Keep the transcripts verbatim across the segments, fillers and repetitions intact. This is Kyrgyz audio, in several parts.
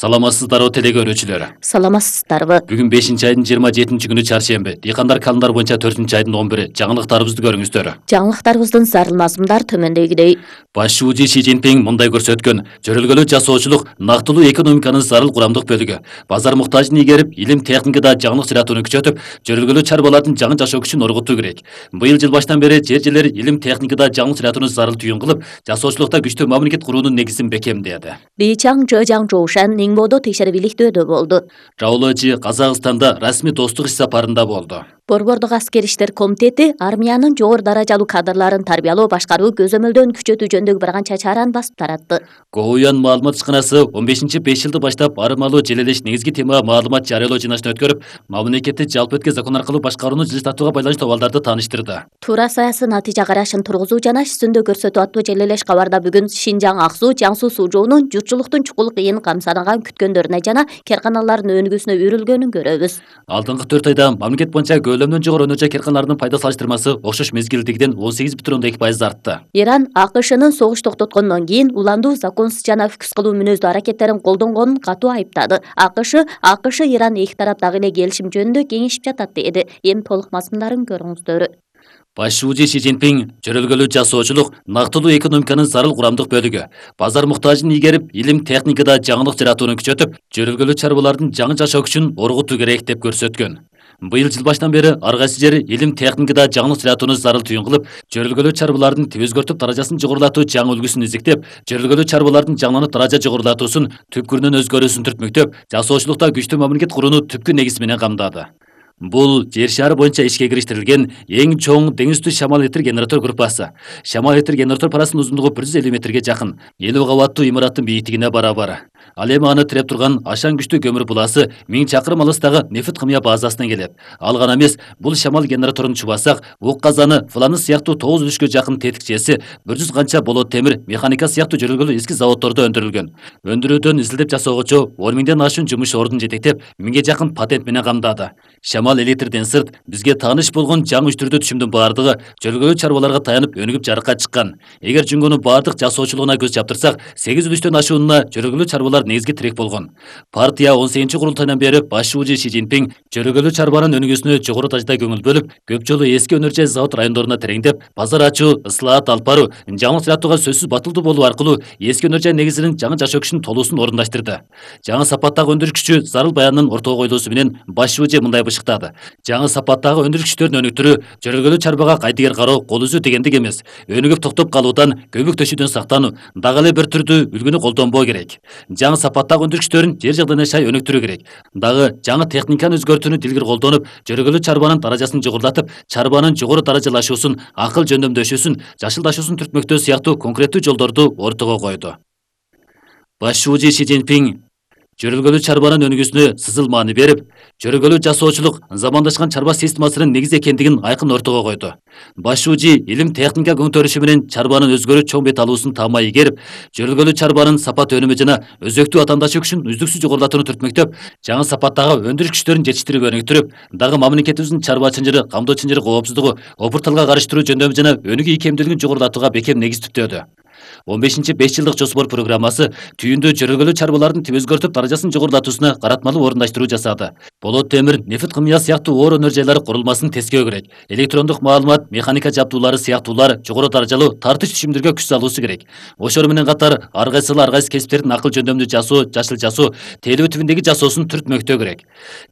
Саламатсыздарбы теле көрүүчүлөр. Саламатсыздарбы. Бүгүн бешинчи айдын жыйырма жетинчи күнү чаршемби. Дыйкандар календар боюнча төртүнчү айдын он бiri. Жаңылыктарыбызды көрүңүздөр. Жаңылыктарыбыздын зарыл мазмундар төмөндөгүдөй. Башчы Си Цзиньпин мындай көрсөткөн: жөрөлгөлүү жасоочулук нактылуу экономиканын зарыл курамдык бөлүгү. Базар муктажын ийгерип, илим техникада жаңылык сыйратууну күчөтүп, жөрөлгөлүү чарбалардын жаңы жашоо күчүн оргутуу керек. Быйыл жыл баштан бери жер-жерлер илим техникада жаңылык сыйратууну зарыл түйүн кылып, жасоочулукта күчтүү мамлекет куруунун негизин бекемдеди. Ли Чаң Жожаң Жоушан Нingbo'до текшерүүлүктөөдө болду. Раулочи Казакстанда расмий достук иш сапарында болду. Борбордук аскер иштер комитети армиянын жогору даражалуу кадрларын тарбиялоо, башкаруу, көзөмөлдөн күчөтүү жөнүндөгү бир канча чараны басып таратты. Гоуян маалымат ишканасы он бешинчи беш жылды баштап арымалуу желелеш негизги темага маалымат жарыялоо жыйналышын өткөрүп, мамлекетти жалпы өткө закон аркылуу башкарууну жылыстатууга байланыштуу абалдарды тааныштырды. Туура саясий натыйжа карашын тургузуу жана ишсүндө көрсөтүү аттуу желелеш кабарда бүгүн Шинжаң Ак Суу, Жаң Суу суу жоонун журтчулуктун чукул кыйын камсанаган күткөндөрүнө жана керканалардын өнүгүүсүнө үрүлгөнүн көрөбүз. Алдыңкы төрт айда мамлекет боюнча көлөмдөн жогору өнөр жай керканаларынын пайда салыштырмасы окшош мезгилдегиден он сегиз бүтүн ондон эки пайыз артты. Иран АКШнын согуш токтоткондон кийин уландуу, законсуз жана өкүс кылуу мүнөздүү аракеттерин колдонгонун катуу айыптады. АКШ АКШ Иран эки тарап дагы эле келишим жөнүндө кеңешип жатат деди. Эми толук мазмундарын көрүңүздөр. Башчы Си Цзиньпин жөрөлгөлүү жасоочулук нактылуу экономиканын зарыл курамдык бөлүгү. Базар муктажын ийгерип, илим техникада жаңылык сыйратууну күчөтүп, жөрөлгөлүү чарбалардын жаңы жашоо күчүн оргутуу керек деп көрсөткөн. Быйыл жыл баштан бери ар кайсы жер илим техникада жаңылык сыйратууну зарыл түйүн кылып, жөрөлгөлүү чарбалардын тип өзгөртүп даражасын жогорулатуу жаңы үлгүсүн изиктеп, жөрөлгөлүү чарбалардын жаңыланып даража жогорулатуусун түпкүрүнөн өзгөрүүсүн түртмөктөп, жасоочулукта күчтүү мамлекет курууну түпкү негизи менен камдады. Бул жер шары боюнча ишке кириштирилген эң чоң деңиз үстү шамал электр генератор группасы. Шамал электр генератор парасынын узундугу бир жүз элүү метрге жакын, элүү кабаттуу имараттын бийиктигине барабар. Ал эми аны тиреп турган ашаң күчтүү көмүр буласы миң чакырым алыстагы нефт кымыя базасынан келет. Ал гана эмес, бул шамал генераторун чубасак, ук казаны, фланыс сыяктуу тогуз үлүшкө жакын тетикчеси, бир жүз канча болот темир, механика сыяктуу жөрөлгөлүү эски заводдордо өндүрүлгөн. Өндүрүүдөн изилдеп жасоогучу он миңден ашуун жумуш ордун жетектеп, миңге жакын патент менен камдады. Шамал электрден сырт, бизге тааныш болгон жаңы үч түрдүү түшүмдүн баардыгы жөрөлгөлүү чарбаларга таянып өнүгүп жарыкка чыккан. Эгер жүнгөнүн баардык жасоочулугуна көз чаптырсак, сегиз үлүштөн ашуунуна жөрөлгөлүү чарбалар негизги тирек болгон. Партия он сегизинчи курултайдан бери башчы Си Цзиньпин жөрөлгөлүү чарбанын өнүгүүсүнө жогору дажда көңүл бөлүп, көп жолу эски өнөр жай завод райондоруна тереңдеп, базар ачуу, ыслаат алып баруу, жаңылык сыйратууга сөзсүз батылдуу болуу аркылуу эски өнөр жай негизинин жаңы жашоо күчүнүн толуусун орундаштырды. Жаңы сапаттагы өндүрүш күчү зарыл баянынын ортого коюлуусу менен башчы мындай бышыктады: жаңы сапаттагы өндүрүш күчтөрүн өнүктүрүү жөрөлгөлүү чарбага кайтыгер кароо, кол үзүү дегендик эмес. Өнүгүп токтоп калуудан, көбүк төшүүдөн сактануу, дагы эле бир түрдүү үлгүнү колдонбоо керек. Жаңы сапаттагы өндүрүш күчтөрүн жер жагдайына шай өнүктүрүү керек. Дагы жаңы техниканы өзгөртүүнү дилгир колдонуп, жөрөлгөлүү чарбанын даражасын жогорулатып, чарбанын жогору даражалашуусун, акыл жөндөмдөшүүсүн, жашылдашуусун түртмөктөө сыяктуу конкреттүү жолдорду ортого койду. Башчы Си Цзиньпин жөрөлгөлүү чарбанын өнүгүүсүнө сызыл маани берип, жөрөлгөлүү жасоочулук замандашкан чарба системасынын негизи экендигин айкын ортого койду. Башчы илим техника көңтөрүшү менен чарбанын өзгөрүү чоң бет алуусун таамай ийгерип, жөрөлгөлүү чарбанын сапат өнүмү жана өзөктүү атаандашуу күчүн үздүксүз жогорулатууну түртмөктөп, жаңы сапаттагы өндүрүш күчтөрүн жетиштирип өнүктүрүп, дагы мамлекетибиздин чарба чынжыры, камдоо чынжыры коопсуздугу, опурталга карыштыруу жөндөмү жана өнүгүү ийкемдүүлүгүн жогорулатууга бекем негиз түптөдү. он бешинчи беш жылдык жоспор программасы түйүндө жөрөлгөлүү чарбалардын тип өзгөртүп даражасын жогорулатуусуна каратмалуу орундаштыруу жасады. Болот темир, нефт кымыя сыяктуу оор өнөр жайлары курулмасын тескөө керек. Электрондук маалымат, механика жабдуулары сыяктуулар жогору даражалуу тартыш түшүмдөргө күч салуусу керек. Ошол менен катар ар кайсыл ар кайсы кесиптердин акыл жөндөмдүү жасоо, жашыл жасоо, тейлөө тибиндеги жасоосун түртмөктөө керек.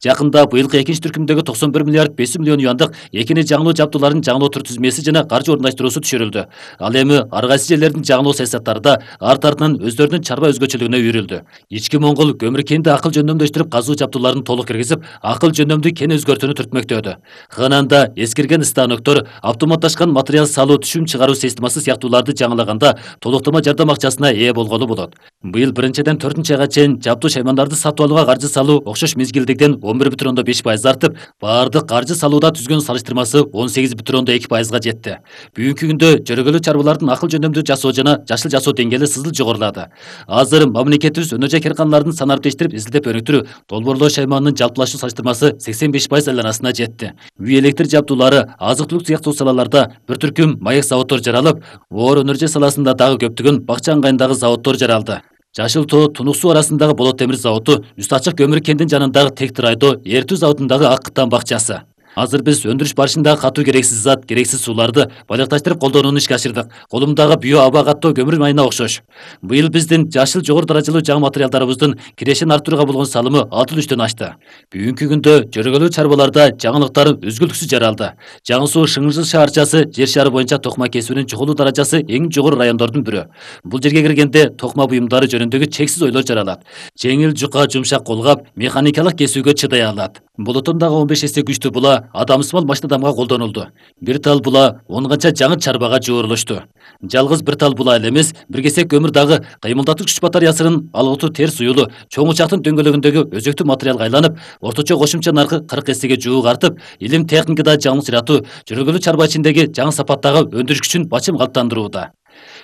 Жакында быйылкы экинчи түркүмдөгү токсон бир миллиард беш жүз миллион юандык экини жаңылоо жабдууларын жаңылоо тизмеси жана каржы орундаштыруусу түшүрүлдү. Ал эми ар кайсы жерлердин жаңылоо саясаттарда арт артынан өздөрүнүн чарба өзгөчөлүгүнө үйрүлдү. Ички Моңгол көмүр кенди акыл жөндөмдөштүрүп казуу жабдууларын толук киргизип, акыл жөндөмдүү кен өзгөртүүнү түртмөктөдү. Хананда эскирген станоктор, автоматташкан материал салуу, түшүм чыгаруу системасы сыяктууларды жаңылаганда толуктама жардам акчасына ээ болгону болот. Быйыл биринчиден төртүнчү айга чейин жабдуу шаймандарды сатып алууга каржы салуу окшош мезгилдегиден он бир бүтүн ондон беш пайыз артып, баардык каржы салууда түзгөн салыштырмасы он сегиз бүтүн ондон эки пайызга жетти. Бүгүнкү күндө жөрөлгөлүү чарбалардын акыл жөндөмдүү жасоо жана жашыл жасоо деңгээли сызыл жогорулады. Азыр мамлекетибиз өнөр жай керканалардын санын арттештирип, изилдеп өнүктүрүү, долбоорлоо шайманынын жалпылашуу салыштырмасы сексен беш пайыз айланасына жетти. Үй электр жабдуулары, азык-түлүк сыяктуу салаларда бир түркүм маек заводдор жаралып, оор өнөр жай саласында дагы көптөгөн бакча ыңгайындагы заводдор жаралды. Жашыл Тоо Тунук суу арасындагы Болот темир заводу, Үст Ачык көмүр кендин жанындагы Тектир айдоо Эртүү заводундагы Ак Кыттан бакчасы. Азыр биз өндүрүш барышында катуу керексиз зат, керексиз сууларды байлыкташтырып колдонууну ишке ашырдык. Колумдагы био аба каттоо көмүр майына окшош. Быйыл биздин жашыл жогору даражалуу жаңы материалдарыбыздын кирешин арттырууга болгон салымы алты үчтөн ашты. Бүгүнкү күндө жөргөлүү чарбаларда жаңылыктар үзгүлтүксүз жаралды. Жаңы суу Шыңжыл шаарчасы жер шары боюнча токма кесүүнүн чогулуу даражасы эң жогору райондордун бирөө. Бул жерге киргенде токма буюмдары жөнүндөгү чексиз ойлор жаралат. Жеңил, жука, жумшак колгап, механикалык кесүүгө чыдай алат. Болотондагы он беш эсе күчтүү була адамсымал машина адамга колдонулду. Бир тал була он канча жаңы чарбага жуурулушту. Жалгыз бир тал була эле эмес, бир кесек көмүр дагы кыймылдатуу күч батареясынын алгытуу терс уюлу чоң учактын дөңгөлөгүндөгү өзөктүү материалга айланып, орточо кошумча наркы кырк эсеге жуук артып, илим техникада жаңылык жаратуу, жөргөлүү чарба ичиндеги жаңы сапаттагы өндүрүш күчүн бачым калыптандырууда.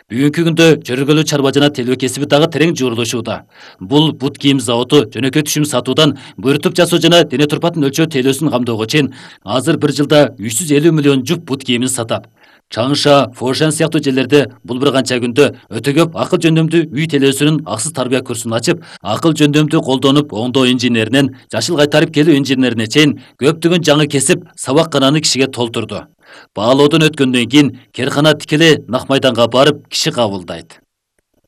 Бүгүнкү күндө жөргөлүү чарба жана телөө кесиби дагы терең жуурулушууда. Бул бут кийим заводу жөнөкөй түшүм сатуудан буйруктуп жасоо жана дене турпатын өлчөө телөөсүн камдоого чейин азыр бир жылда үч жүз элүү миллион жуп бут кийимин сатат. Чаңша, Фошан сыяктуу жерлерде бул бир канча күндө өтө көп акыл жөндөмдүү үй телөөсүнүн аксыз тарбия курсун ачып, акыл жөндөмдүү колдонуп оңдоо инженеринен жашыл кайтарып келүү инженерине чейин көптөгөн жаңы кесип сабаккананы кишиге толтурду. Баалоодон өткөндөн кийин керкана тикелей нак майданга барып киши кабылдайт.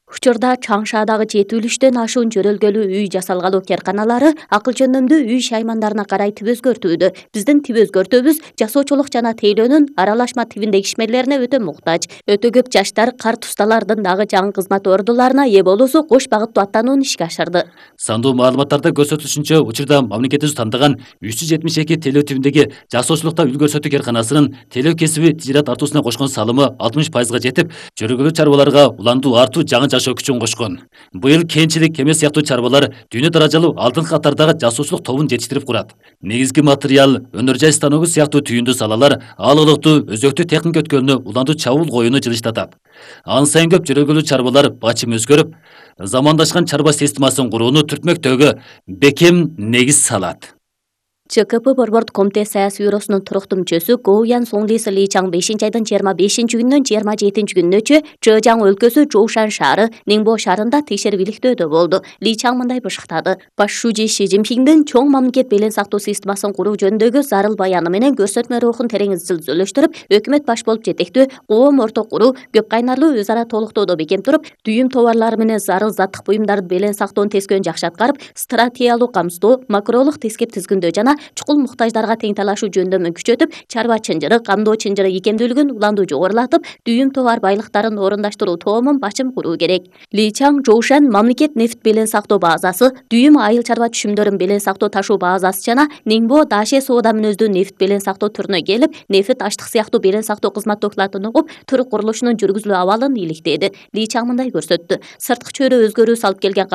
Учурда Чаңшаадагы жетүүлүштөн ашуун жөрөлгөлүү үй жасалгалуу керканалары акыл жөндөмдүү үй шаймандарына карай тип өзгөртүүдө. Биздин тип өзгөртүүбүз жасоочулук жана тейлөөнүн аралашма тибиндеги ишмерлерине өтө муктаж. Өтө көп жаштар карт усталардын дагы жаңы кызмат ордуларына ээ болуусу кош багыттуу аттанууну ишке ашырды. Сандуу маалыматтарда көрсөтүлүшүнчө, учурда мамлекетибиз тандаган үч жүз жетимиш эки телөө тибиндеги жасоочулукта үл көрсөтүү керканасынын телөө кесиби тижарат артуусуна кошкон салымы алтымыш пайызга жетип, жөргөлүү чарбаларга уландуу артуу жаңы жашоо күчүн кошкон. Быйыл кенчилик кеме сыяктуу чарбалар дүйнө даражалуу алдыңкы катардагы жасоочулук тобун жетиштирип курат. Негизги материал, өнөр жай станогу сыяктуу түйүндүү салалар аалылыктуу өзөктүү техника өткөлүнө уландуу чабуул коюуну жылыштатат. Ан сайын көп жөргөлүү чарбалар бачым өзгөрүп, замандашкан чарба системасын курууну түртмөктөгө бекем негиз салат. ЧКП Борбордук комитет саясий бюросунун туруктуу мүчөсү Гоуян Соңлисы Ли Чаң бешинчи айдын жыйырма бешинчи күнүнөн жыйырма жетинчи күнүнөчө Чжэжяң өлкөсү Жоушан шаары Нingbo шаарында текшерип иликтөөдө болду. Ли Чаң мындай бышыктады: Баш шужи Ши Цзиньпиндин чоң мамлекет белең сактоо системасын куруу жөнүндөгү зарыл баяны менен көрсөтмө рухун терең изилдөөлөштүрүп, өкмөт баш болуп жетектүү коом орток куруу, көп кайнарлуу өз ара толуктоодо бекем туруп, дүйүм товарлары менен зарыл заттык буюмдарды белең сактоонун тескөөн жакшы аткарып, стратегиялык камсыздоо, макролук тескеп тизгиндөө жана чукул муктаждарга тең талашуу жөндөмүн күчөтүп, чарба чынжыры, камдоо чынжыры икемдүүлүгүн уландуу жогорулатып, дүйүм товар байлыктарын орундаштыруу тоомун бачым куруу керек. Ли Чаң Жоушан мамлекет нефт белең сактоо базасы, дүйүм айыл чарба түшүмдөрүн белең сактоо ташуу базасы жана Ningbo Даше соода мүнөздүү нефт белең сактоо түрүнө келип, нефт аштык сыяктуу белең сактоо кызмат докладын угуп, түрк курулушунун жүргүзүлүү абалын иликтеди. Ли Чаң мындай көрсөттү: сырткы чөйрө өзгөрүү салып келген